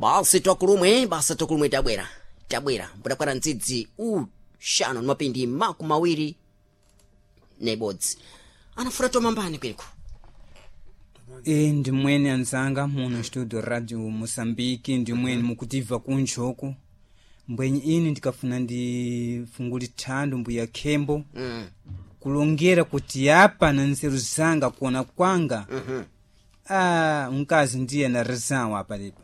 Basi twakulumwe, basi twakulumwe, tabwera, tabwera mbudakwata ndzidzi uxanu ni mapindi 21 anafura tomambani kweku. E, ndimweni anzanga muno studio Radio Moçambique, ndimweni mukutiva kunchoku mbwenyi ini ndikafuna ndifunguli thando mbuya khembo kulongera kuti apa na nzeru zanga kuona kwanga ah, mkazi ndiye na rizawo apa lipa.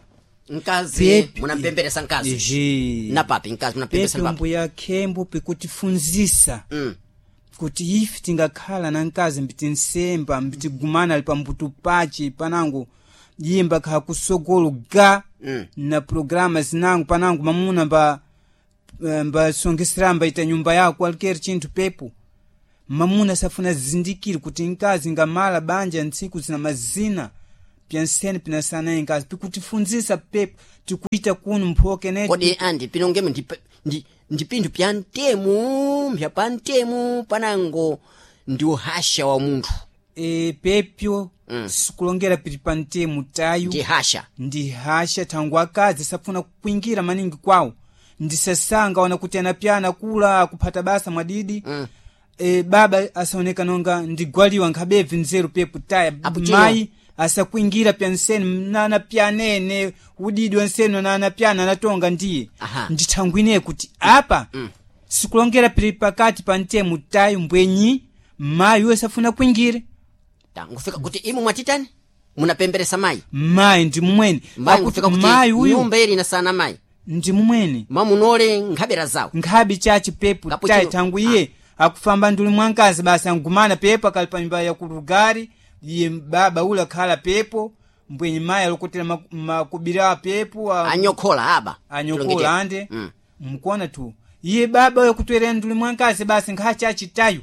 Mkazi Pepi. munampemberesa mkazi? Ehe. Na papi mkazi munampemberesa pepe na papi? Mbuya khembo pikutifunzisa kuti ife tingakhala na mkazi mbitinsemba mbitigumana ali pambuto pace panango yimba kha kusogolo ga na programa zinango panango mamuna mba mbasongesera mbaita nyumba yako alikeri chinthu pepo mamuna safuna zindikire kuti mkazi ngamala banja ntsiku zina mazina pyansene pinasanaye nkazi pikutifunzisa pepo tikuita kuno mphoke neti. Kodi andi pinongemo ndi pinthu pya ntemu mpya pa ntemu panango ndi uhasha wa munthu? E, pepyo sikulongera pili pa ntemu tayu. Ndi hasha. Ndi hasha thangu akazi safuna kukwingira maningi kwawo ndisasanga ona kuti anapyana kula akuphata basa mwadidi e, baba asaoneka nonga ndigwaliwa nkhabebvi nzeru pepo taya. Apo chino. Mayi asakwingira pyansene nanapyanene udidi wansene nanapyana anatonga ndiye. Aha. Ndithangwine kuti apa sikulongera pili pakati pa ntemu tayu mbwenyi mayi uyo safuna kwingire. Ta, ngufika kuti imwe mwatitani munapemberesa mayi? Mayi ndi mumwene. Mayi Akuti ngufika kuti mayi uyu nyumba ili inasana mayi ndi mumwene mamunole nkhabera zawo. Nkhabi chachi pepo Kapo tayi chino- thangu iye akufamba nduli mwankazi basi angumana pepo akali pa nyumba ya kulugari iye baba ule akhala pepo mbwenye mayi alokotera makubira pepo anyokhola aba. Anyokola ande mkuona tu iye baba uyo kutwerera nduli mwankazi basi nkha chachi tayu.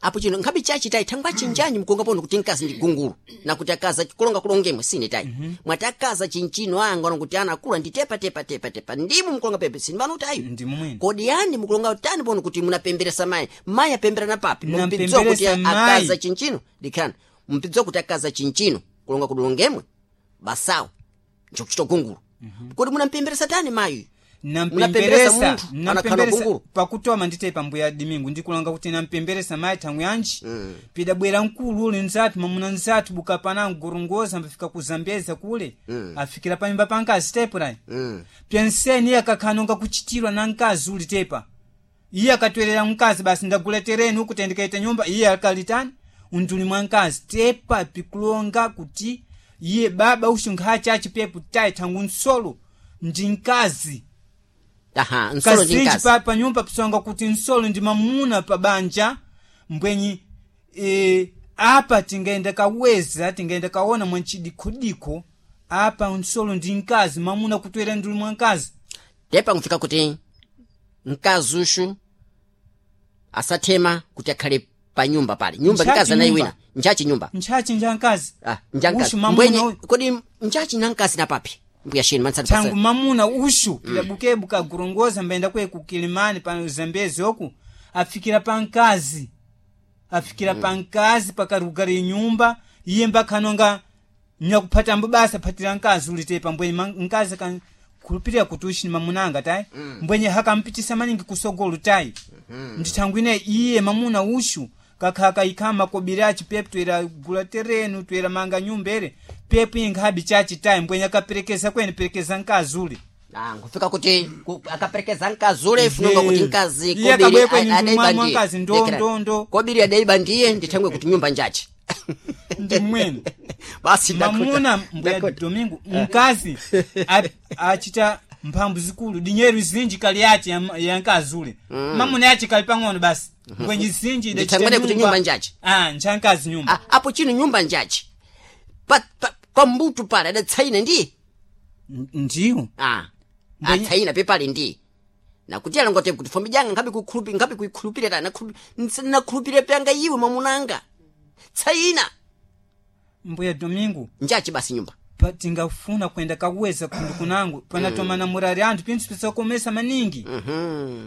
Apo chino nkhabe chachi tayi thangwa chinjanyi mkunga pono kuti mkazi ndi gungulu nakuti akaza kulonga kulongemwe sine tayi mwati akaza chinchino anga kuti ana akula ndi tepa tepa tepa tepa ndimu mkulonga pepe sini pano tayi. Ndi mumwene. Kodi yani mukulonga tani pono kuti munapemberesa mayi, mayi apembera na papi mumpidziwa kuti Nampemberesa mayi. akaza chinchino dikhana mumpidziwa kuti akaza chinchino kulonga kulongemwe basawo njokuchita gungulu kodi munampemberesa tani mayi? Munapemberesa Nampemberesa munthu anakhala nampemberesa gungulu. Pakutoma ndite mbuya Dimingu ndikulonga kuti nampemberesa mayi thangu yanji pidabwera mkulu uli nzathu mamuna nzathu buka panango gorongoza mbafika ku Zambeza kule afikira panyumba pa nkazi tepo rayi pyanseni iye akakhanonga kuchitirwa na mkazi uli tepa iye akatwerera mkazi basi ndagula tereni uku tendikaita nyumba iye akalitani unduli mwa mkazi tepa pikulonga kuti iye baba uxu nkhacha achipepo tayi thangu nsolo ndi mkazi. Aha, nsolo ndi kazinji mkazi. pa panyumba pisonga kuti nsolo ndi mamuna pa banja mbwenyi e, apa tingaenda kaweza tingaenda kaona mwanchidikhodikho apa nsolo ndi mkazi mamuna kutwera nduli mwa mkazi. Tepa nkufika kuti mkazi uxu asathema kuti akhale pa nyumba pale nyumba Nchachi mkazi anayi nyumba. wina nchachi nyumba. Ntchachi nja mkazi. Ah, nja Uxu mkazi mamuna mbwenye uyu. kodi nchachi na mkazi na papi mbuya shini mansati Thangu mamuna uxu pilabukebu kagorongoza mbaenda kwe ku Kilimani pa Zambezi oku afikira pa mkazi afikira pa mkazi pakarugara nyumba iye mbakhanonga nyakuphata basa phatira mkazi ulitepa mbwenye mkazi khulupirira kuti uxi ni mamunanga tayi mbwenye hakampitisa maningi kusogolo tayi ndithangwine iye mamuna uxu kakha kaikha makobiri aci pepu toera gula terenu toera manga nyumba ere pepu inkhabi chachi tayi mbwenye akaperekeza kwene perekeza mkazi ule. Ah, nkufika kuti akaperekeza mkazi ule funonga kuti mkazi Iye kobiri akabwekwe ni adaiba mwa ndiye. mkazi ndo- Dekera. ndo- ndo. Kobiri adaiba ndiye ndithangwe kuti nyumba njachi. Ndi mwene. Basi ndakuta. Mamuna mbuya Ndakuta. Domingo mkazi achita mphambu zikulu dinyeru zinji kali yace ya mkazi ule mamuna yace kali pang'ono basi mbwenye zinji idachita. Ndithangwene kuti nyumba njachi. Ah, ncha mkazi nyumba. Ah, apo chino nyumba njachi pa pambutu pale adatsaina ndiye. Ndiyo. Ah, Mbwenye- atsaina pepale ndiye nakuti alongote kuti fombi janga nkhabe kukhulupi nkhabe kuikhulupirira ta nakhulupirira pyanga iwe mamunanga tsaina. Mbuya Domingo. Njachi basi nyumba. Tingafuna kwenda kaweza kundu kunangu panatomana murari anthu pinthu pisakomesa maningi.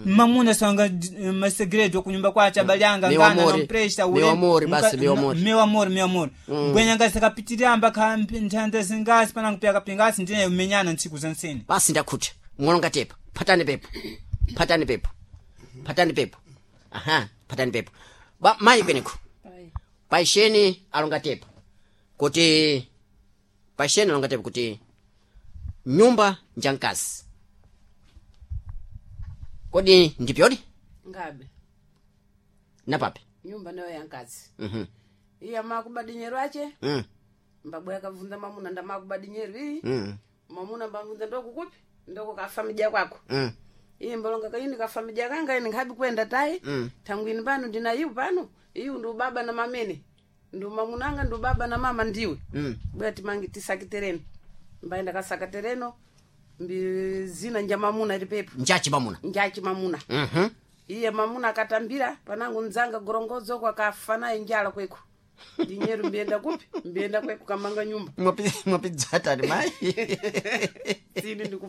Mamuna sanga masegredo kunyumba kwace abali anga Meu ngana amore. nompresta. Meu amore, basi, meu amore. Meu amor, meu amor, mbwenya ngasi akapitiramba nthanda zingasi panangu pyakapingasi ndine umenyana ntsiku za nsene. Basi ndakhuta mwalonga tepa, phatani pepo, phatani pepo, phatani pepo, aha, phatani pepo. Ba mayi kweneko paisheni alonga tepa kuti, paisheni alonga tepa kuti nyumba njankazi, kodi ndipyodi? Ngabe. Napape. Nyumba nayo yankazi. Iya makuba dinyeru ache. Mbabwe akavunza mamuna ndamakuba dinyeru iyi. Mamuna mbavunza ndokukupi ndoko kafamija kwako. Iye mbalonga kaini kafamija kanga ini nkhabi kwenda tayi. Tangu ini pano ndina iyu pano iyu ndu baba na mamene ndu mamunanga ndu baba na mama ndiwe. Bwera timangi tisaki tereno mbaenda kasaka tereno mbi zina nja mamuna ilipepo. Njachi mamuna. Njachi mamuna. Iye mamuna akatambira panangu nzanga gorongozo kwakafa naye njala kweko dinyeru mbienda kupi mbienda kweko kamanga nyumba. Mwapidzatani mayi. Sini.